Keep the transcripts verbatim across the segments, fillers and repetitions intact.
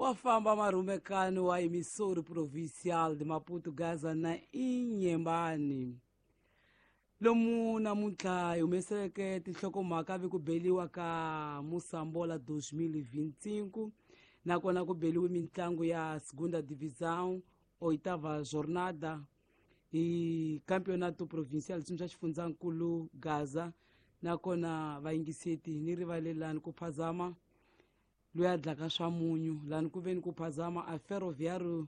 Wa famba marhumekani wa emissora provincial de Maputo, Gaza na Inhambane. Lomu namuntlha hi humeseleke tinhlokomhaka vi ku beliwa ka Moçambola dois mil e vinte e cinco, nakona ku beliwe mitlangu ya Segunda Divisão, oitava jornada hi Campeonato Provincial swa xifundzankulu Gaza, nakona vayingiseti ni rivalelani ku phazama loyi a dlaka swa munyu lani ku veni ku phazama a Ferroviário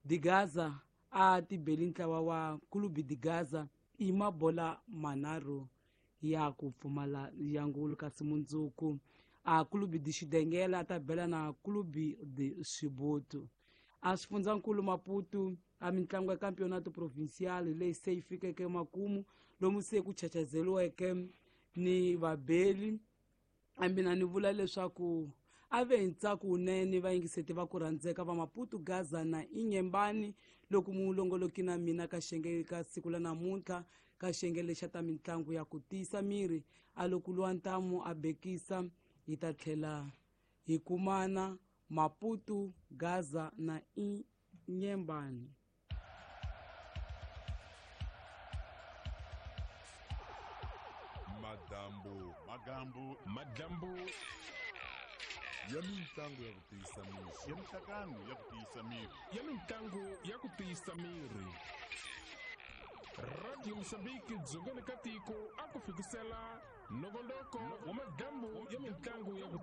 de Gaza a tibeli ntlawa wa Clube de Gaza i mabola manharhu ya ku pfumala ya ngulu, kasi mundzuku a Clube de Xidengela a ta bela na Clube de Xibutu. A xifundzankulu Maputo a mitlangu ya Campeonato Provincial leyi se yi fikeke makumu lomu se ku chachazeliweke ni vabeli. A mina ni vula leswaku a ve hi ntsako wunene vayingiseti va ku rhandzeka va Maputo, Gaza na Inhambane loko mulongoloki na mina ka xiyenge ka siku la namuntlha ka xiyenge lexa ta mitlangu ya ku tiyisa miri a loko luwa ntamu a bekisa hi ta tlhela hi kumana Maputo, Gaza na Inhambane. Madambu, magambu, madambu ya mitlangu ya ku tiyisa miri, ya mihlangano ya ku tiyisa miri, ya mitlangu ya ku tiyisa miri. Radio Mozambique dzongeni ka tiko a ku fikisela nongonoko wa madambu ya mitlangu ya ku